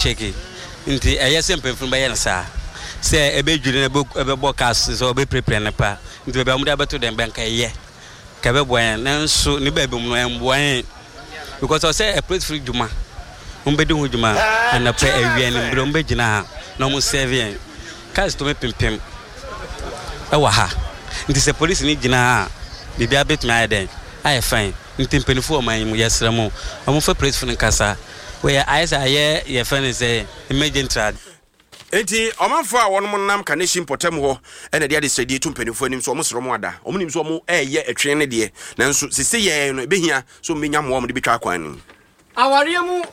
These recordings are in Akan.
Shake nti ɛyɛ sɛ mpanyinfo no bɛyɛ no saa sɛ ɛbɛdwiri na ɛbɛbɔ cars sɛ ɔbɛpirapira no pa nti baabi a wɔde abɛto dɛn bɛnka ɛyɛ ka ɛbɛboa yɛn nanso ne baabi mu no ɛmboa yɛn because ɔsɛ apolisifo dwuma wɔn bɛdi ho dwuma anɔpɛ awia anwummerɛ wɔn bɛgyina ha na wɔn sɛve yɛn cars tumi pimpim ɛwɔ ha nti sɛ polisi ni gyina ha a biribiara bɛtumi ayɛ dɛn ayɛ fine nti mpanyinfo wɔ ɔman yi mu yɛsrɛ mo wɔn fa polisifo no nkasa. Wei ayɛ sɛ ayɛ yɛfrɛ no sɛ emergency ade. Enti ɔmanfoɔ a wɔnom nam Kaneshie mpɔtam hɔ na ɛde adesrɛdeɛ to mpaninfoɔ anim sɛ wɔn srɛ wɔn ada. Wɔn nim sɛ wɔn reyɛ ɛtwe no deɛ, nanso sese yɛɛ no ɛbɛhia sɛ wɔn bɛnya mmoa a wɔn de bɛtwa akwan no mu. Awareɛ mu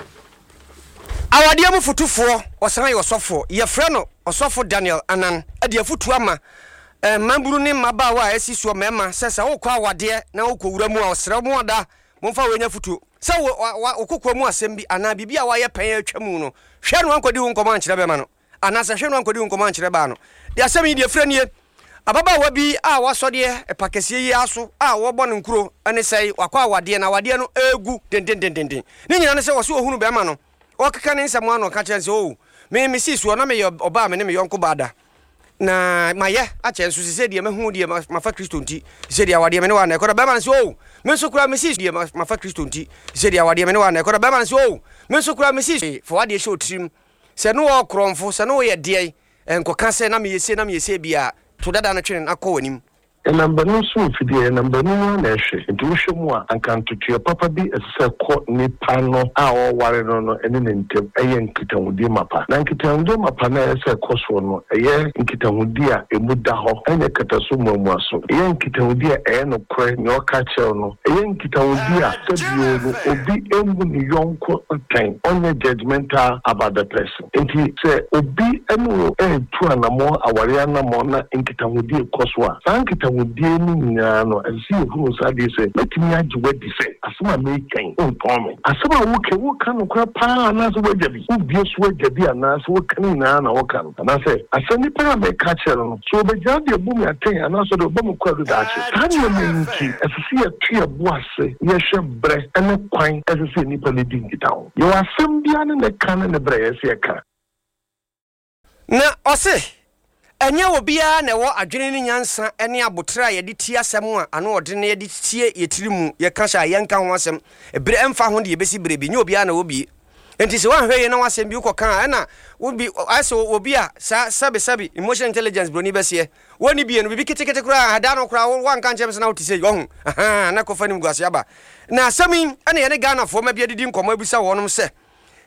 Awadeɛ mu fotufoɔ, ɔsan yɛ ɔsɔfoɔ. Yɛfrɛ no Ɔsɔfo Daniel Anan de afotuo ama mmabunu ne mmabaawa a asi soɔ mmarima sɛ sɛ wokɔ awadeɛ na wokɔwura mu a ɔsrɛ mo ada momfa wei nyɛ afotuo. Sɛ wo, wa, wo kokoa mu asɛm bi anaa biribi a woayɛ pɛn a atwa mu no, hwɛ na woankɔdi ho nkɔmmɔ ankyerɛ bɛrima no, anaasɛ hwɛ na woankɔdi ho nkɔmmɔ ankyerɛ baa no. Deɛ asɛm yi deɛ ɛfiri nie, Ababaawa bi a wasɔ deɛ ɛpa kɛseɛ yi ara so a wɔrebɔ no nkuro ne sɛe, wakɔ awadeɛ na awadeɛ no regu dendendenden. Ne nyinaa ne sɛ ɔse ɔhunu bɛrima no, ɔrekeka ne nsɛm ano ɔka kyerɛ no sɛ, Oh, me, mesii soɔ na meyɛ ɔbaa a me ne me yɔnko baa da. Na mayɛ akyɛ nso sesei deɛ mahu deɛ mafa Kristo nti sesei deɛ awadeɛ me ne wa na ɛkɔ na bɛrima no sɛ oh me nso koraa mesi deɛ mafa Kristo nti sesei deɛ awadeɛ me ne wa na ɛkɔ na bɛrima no sɛ oh me nso koraa mesi fa wadeɛ hyɛ otirim sɛ ne wɔ korɔmfo sɛ ne woyɛ deɛ nkɔka sɛ na meyɛ sei na meyɛ sei bia to dada no twene na kɔ w'anim. Ɛnam banu so mfidie, ɛnam banu no ara na ɛhwɛ. Nti wohwɛ mu a, anka ntotoeɛ papa bi ɛsɛ sɛ ɛkɔ nipa no a ɔreware no no ne ne ntam. Ɛyɛ nkitahodie mapa. Na nkitahodie mapa no a ɛyɛ sɛ ɛkɔ soɔ no, ɛyɛ nkitahodie a ɛmu da hɔ, ɛnyɛ kataso mmuamuaso. Ɛyɛ nkitahodie a ɛyɛ nokorɛ, nea ɔka kyerɛ wo no. Ɛyɛ nkitahodie a sɛbio no obi mmu ne yɔnko atɛn, ɔnyɛ judgemental about the person. Enti sɛ obi ne wo retu anammɔn, awareɛ anammɔn, na nkitahodie rekɔ so a, saa nkitahodie no nyinaa no, ɛsɛ sɛ yɛhunu saa adeɛ sɛ, mɛtumi agye wo adi sɛ asɛm a mereka yi, wontɔn me. Asɛm a woreka yi, woreka nokorɛ pa ara anaasɛ woagya bi? Wobue so agya bi anaasɛ woka ne nyinaa na woka no? Anaasɛ asɛm nipa no a mereka akyerɛ no no, sɛ ɔbɛgyina de abu me atɛn anaasɛ ɔde bɛbɔ me kwaadu daakye? Saa nneɛma yi nti, ɛsɛ sɛ yɛto yɛn bo ase na yɛhwɛ berɛ ne kwan a ɛsɛ sɛ nnipa no di nkitaho. Yɛwɔ asɛm biara ne ne ka ne ne berɛ a ɛsɛ sɛ yɛka. Na ɔse, Ɛnyɛ obiara na ɛwɔ adwene ne nyansa ne aboterɛ a yɛde tie asɛm a ano ɔdene na yɛde tie yɛ tiri mu yɛka hyɛ a yɛnka ho asɛm berɛ ɛmfa ho deɛ ɛbɛsi berɛ bi, nyɛ obiara na ɛwɔ bie. Enti sɛ woanhwɛ yie na w'asɛm bi wokɔka a ɛna wo bi ayɛ sɛ obi a saa sɛbe sɛbe emotional intelligence broni bɛseɛ wɔnni bie no biribi ketekete koraa ɛda no koraa woanka nkyerɛ me sɛ na wote sei ɔho ahaa na kɔfa nimguaseɛ aba. Na asɛm yi ɛna yɛne Ghanafoɔ ma bi adidi nkɔmmɔ abisa wɔnom sɛ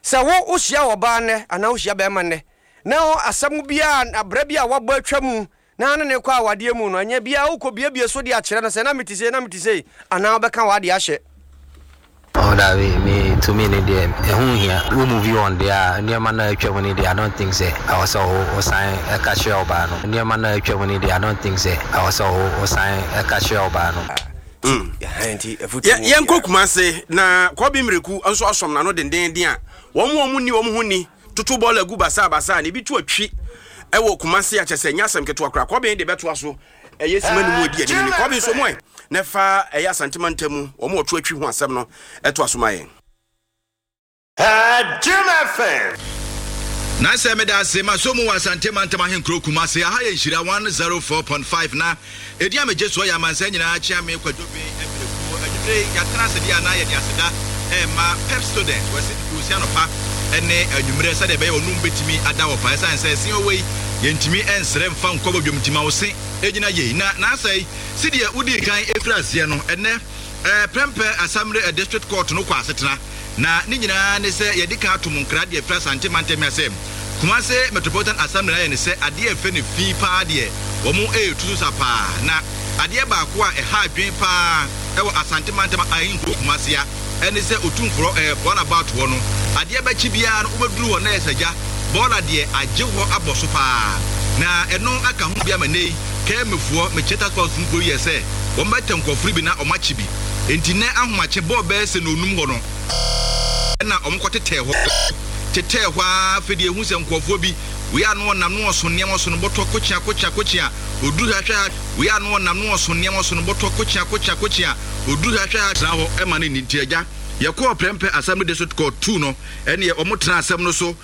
sɛ wo wohyia ɔbaa nnɛ anaa wohyia bɛrima nnɛ Na asɛm biara, abra bi a wabɔ atwa mu na ne ne kɔ awadeɛ mu no, ɛnyɛ biara wokɔ biebie so de akyerɛ no sɛ na mete sei, na mete sei, anaa wobɛka w'adeɛ ahyɛ. Oh dabi me to me ne deɛ ɛho nhia wo move on deɛ a nneɛma no a atwa mu ne deɛ I don't think sɛ ɛwɔ sɛ wo wo san ɛka kyerɛ ɔbaa no nneɛma no a atwa mu ne deɛ I don't think sɛ ɛwɔ sɛ wo wo san ɛka kyerɛ ɔbaa no. Yɛnkɔ Kumase na Kɔbi Mmireku nso asɔm n'ano dendeenden a wɔn a wɔnni wɔn ho ni toto bɔɔla gu basaabasaa na ebi to atwi wɔ Kumasi a kyɛ sɛ ɛnyɛ asɛm ketewa koraa. Kɔben de bɛtoa so ɛyɛ sima no mu adi anim ni. Kɔben so mu ɛ na ɛfa ɛyɛ Asante mantam mu wɔn a wɔto atwi ho asɛm no ɛtoa so ma yɛn. Jim FM. Na sɛ meda ase masɔ mu wɔ Asante mantam ahenkuro Kumasi. Aha yɛ Nhyira 104.5 na Edin a megye soɔ yɛ Amansan Nyinaa Kyeame Kwadwo Ben Mprekuo. Anwumerɛ yi, yɛatena ase deɛ a na yɛde aseda rema Pepsodent. Wɔasi no koosi anɔpa ne anwummerɛ sɛdeɛ ɛbɛyɛ wɔn anum bɛtumi ada hɔ pa. Ɛsiane sɛ ɛse ɔwɔ yi, yɛntumi nsrɛ mfa nkɔ badwam nti ma wo se ɛnyina yei. Na n'asɛe, sedeɛ wodii kan firi aseɛ no, ɛnnɛ Prempeh Asamire District Court no kɔ asetena. Na ne nyinaa ne sɛ yɛadi kan ato mo nkra de afiri Asante mantam yi ase. Kumase Metropolitan Assembly no ayɛ no sɛ adeɛ a ɛfɛ no fi paa deɛ wɔn retu so sa paa. Na adeɛ baako a ɛha adwene paa wɔ Asante mantam ahenkuro Kumase a ɛne sɛ Otumforɔ eh, roundabout hɔ no adeɛ bɛkye biara no wobɛduru hɔ na ɛyɛ sɛ gya bɔɔla deɛ agye hɔ abɔ so paa. Na ɛno aka ho bi ama nnɛ yi Kɛmɛfoɔ, mekyerɛ task force foɔ yi yɛ sɛ wɔn bɛtɛ nkurɔfoɔ no bi na wɔn akye bi. Enti nnɛ ahomakye bɔɔ bɛyɛ sɛ nnɔnnum hɔ no na wɔn kɔ tetɛɛ hɔ. Tetɛɛ hɔ ara afei deɛ ehu sɛ nkurɔfoɔ bi, wei a na ɔnam na ɔso nneɛma ɔso no bɔtɔ kokyea kokyea kokyea, ɔduru ha hwɛ ha, wei a na ɔnam na ɔso nneɛma ɔso no bɔtɔ kokyea kokyea kokyea, ɔduru ha hwɛ ha. Tena hɔ ma no nni. Nti agya, yɛkɔɔ Prempeh Assembly District Court tuu no, ɛnneɛ wɔn tenaa asɛm no so.